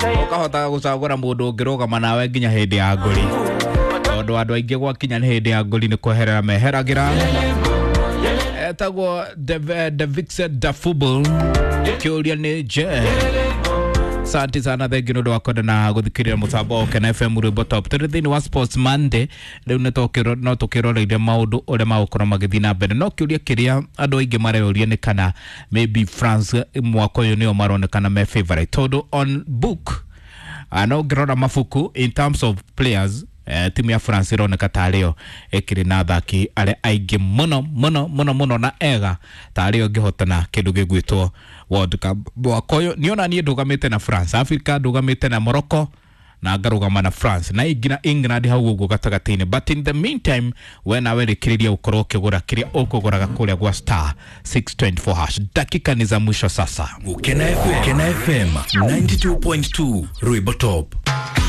Ũkahota gũcagũra mũndũ ũngĩrũgama nawe nginya hĩndĩ ya ngũri, tondũ andũ aingĩ gwakinya nĩ hĩndĩ ya ngũri nĩ kweherera meheragĩra. Etagwo Davixe Dafubul. Kĩũria nĩ je? Asante sana, thengi nĩ ũndũ wa kwenda na gũthikĩrĩria mũtambo wa Ũkena FM Rwĩmbo Top. Tũrĩ thĩinĩ wa Sports Monday rĩu no tũkĩroreire maũndũ ũrĩa magũkorwo magĩthiĩ na mbere, no kĩũria kĩrĩa andũ aingĩ mareyũria nĩ kana maybe France mwaka ũyũ nĩo maronekana me favorite, tondũ on book, no ngĩrora mabuku in terms of players, timu ya France ĩroneka tarĩ yo ĩkĩrĩ na athaki arĩa aingĩ mũno mũno mũno mũno na ega tarĩ yo ĩngĩhotana kĩndũ gĩgwĩtwo World Cup mwaka ũyũ. Niona niĩ ndũgamĩte na France, Africa ndũgamĩte na Morocco na ngarũgama na France na ingina England hau ũguo gatagatĩ-inĩ. But in the meantime, we nawe rĩkĩrĩria ũkorwo ũkĩgũra kĩrĩa ũkũgũraga kũrĩa gwa *624#. Dakika ni za mwisho sasa. Ukena FM, Ukena FM 92.2 Rwimbo Top.